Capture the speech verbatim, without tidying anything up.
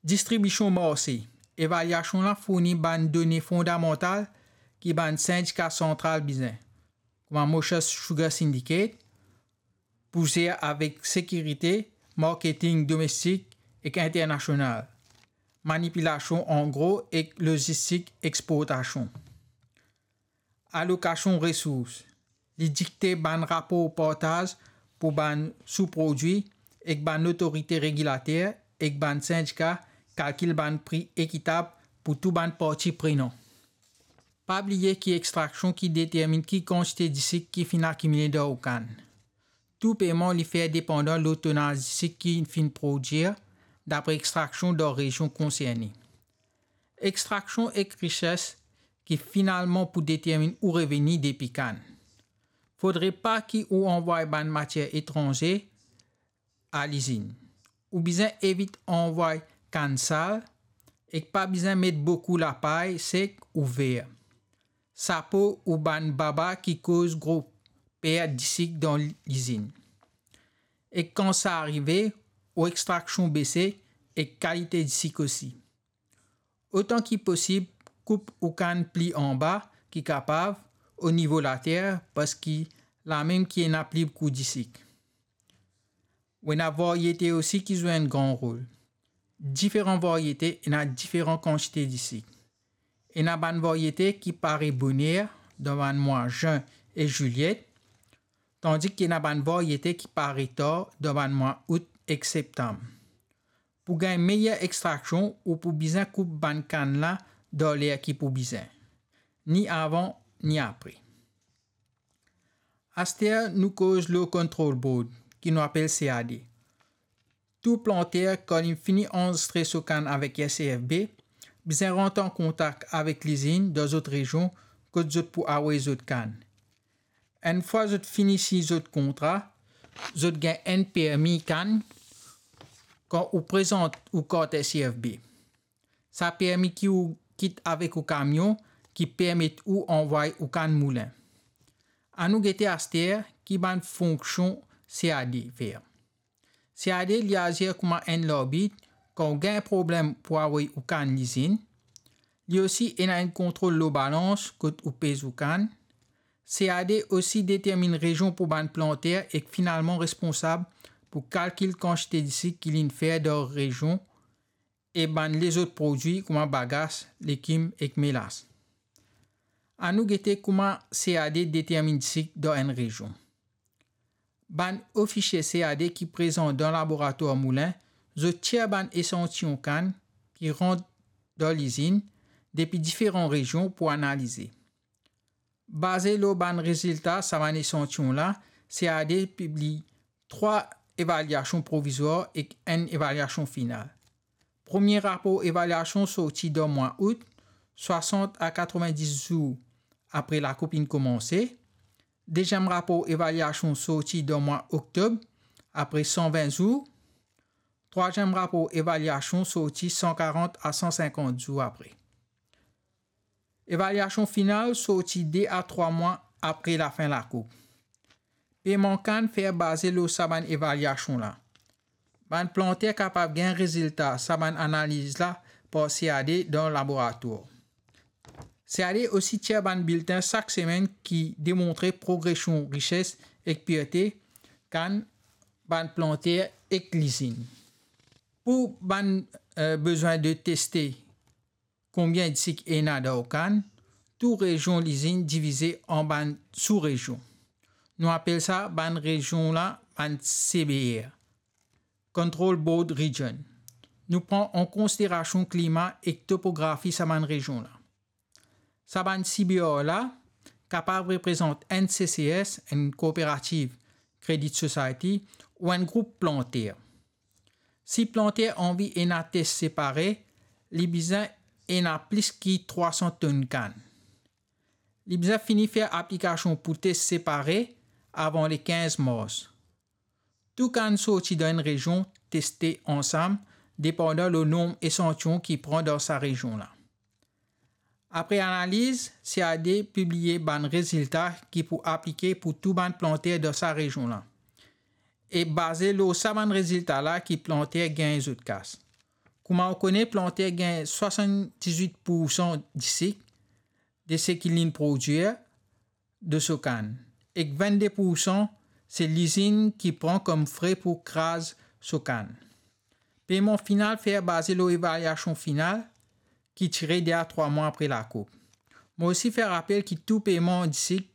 Distribision marse. Evaliasion la fourni bann done fondamantal ki bann sindika santral bizin, kouma Mauritius Sugar Syndicate, pou zer avek sekirite marketing domestik ek internasional, manipilasion an gro ek lozistik exportasion. Alokasion resours. Li dikte bann rapor partaz pou bann souprodwi ek bann lotorite regilater ek bann sindika kalkil bann pri ekitab pou tou bann parti prenan. Pa bliye ki extraksion ki determinn ki kantite disik ki finn akimile dan ou kann. Tou peyman li fer depandan lor tonaz disik ki finn prodwir dapre extraksion dan rezion konserne. Extraksion ek recherche ki finalman pou determinn ou reveni depi kann. Fodre pa ki ou anvway bann matier etranze a lizinn. Ou bizin evit anvway kann sal ek pa bizin met boukou lapay sek ou ver, sapo ou bann baba ki koz gro pert disik dan lizinn. Ek kan sa arive, ou extraksion bese ek kalite disik osi. Otan ki posib, koup ou kann pli anba ki kapav, o nivo later, parski lamem ki ena pli boukou disik. Ou ena varyete osi ki zwe enn gran rol. Diferan varyete ena diferan kantite disik. Ena bann varyete ki pare boner dan bann mwa zin ek zilye, tandis ki ena bann varyete ki pare tar dan bann mwa out ek septam. Pou gagn meyer extraksion, ou pou bizin koup bann kann la dan ler ki pou bizin, ni avan, ni apre. Aster nou koz lor Control Board, ki nou apel C A D. Tou planter, kan li fini anrezistre so kann avek S C F B, bizin rant an kontak avek lizinn dan zot rezion kot zot pou avoy zot kann. Enn fwa zot fini sign zot kontra, zot gagn enn permi kann kan ou prezant ou kart S C F B. Sa permi ki ou kit avek ou kamion ki permet ou anvway ou kann moulin. Anou gete aster ki bann fonksion C A D fer. C A D li azir kouma enn larbit kan ou gagn problem pou avoy ou kann lizinn. Li osi ena enn kontrol lor balans kot ou pez ou kann. C A D osi determinn rezion pou bann planter ek finalman responsab pou kalkil kantite disik ki linn fer dan rezion e bann lezot prodwi kouma bagas, legim ek melas. Anou gete kouma C A D determinn disik dan enn rezion. Bann ofisie C A D ki prezan dan laboratwar moulin, zot tir bann esantiyon kann ki rant dan lizinn depi diferan rezion pou analize. Baze lor bann rezilta sa bann esantiyon la, C A D pibliy trwa evaliasion provizwar ek enn evaliasion final. Premie rapor evaliasion sorti dan mwa out, swasant a katrovin-dis zour apre lakoup inn koumanse. Deziem rapor evaliasion sorti dan mwa oktob, apre san vin zour. Trwaziem rapor evaliasion sorti san karant a san sinkant zour apre. Evaliasion final sorti de a trwa mwa apre lafin lakoup. Peyman kann fer baze lor sa bann evaliasion la. Bann planter kapav gagn rezilta sa bann analiz la par C A D dan laboratwar. C A D osi tir bann biltin sak semenn ki demontre progresion rises ek pirte kann bann planter ek lizinn. Pou bann, eh, bezwin de teste konbien disik ena dan ou kann, tou rezion lizinn divize an bann sou-rezion. Nou apel sa bann rezion la bann C B R, Control Board Region. Nou pran an konsiderasion klima ek topografi sa bann rezion la. Sa bann C B R la kapav reprezant enn C C S, enn Cooperative Credit Society, ou enn group planter. Si planter anvi ena tes separe, li bizin ena plis ki trwa san tonn kann. Li bizin fini fer aplikasion pou tes separe avan le kinz mars. Tou kann sorti dan enn rezion teste ansam, depandan lor nonb esantiyon ki pran dan sa rezion la. Apre analiz, C A D pibliye bann rezilta ki pou aplike pou tou bann planter dan sa rezion la. E baze lor sa bann rezilta la ki planter gagn zot kas. Kouma ou kone, planter gagn swasanndizwit poursan disik de seki linn prodwir de so kann, ek vennde poursan se lizinn ki pran kom fre pou kraz so kann. Peyman final fer baze lor evaliasion final ki tire de a trwa mwa apre lakoup. Mo osi fer rapel ki tou peyman disik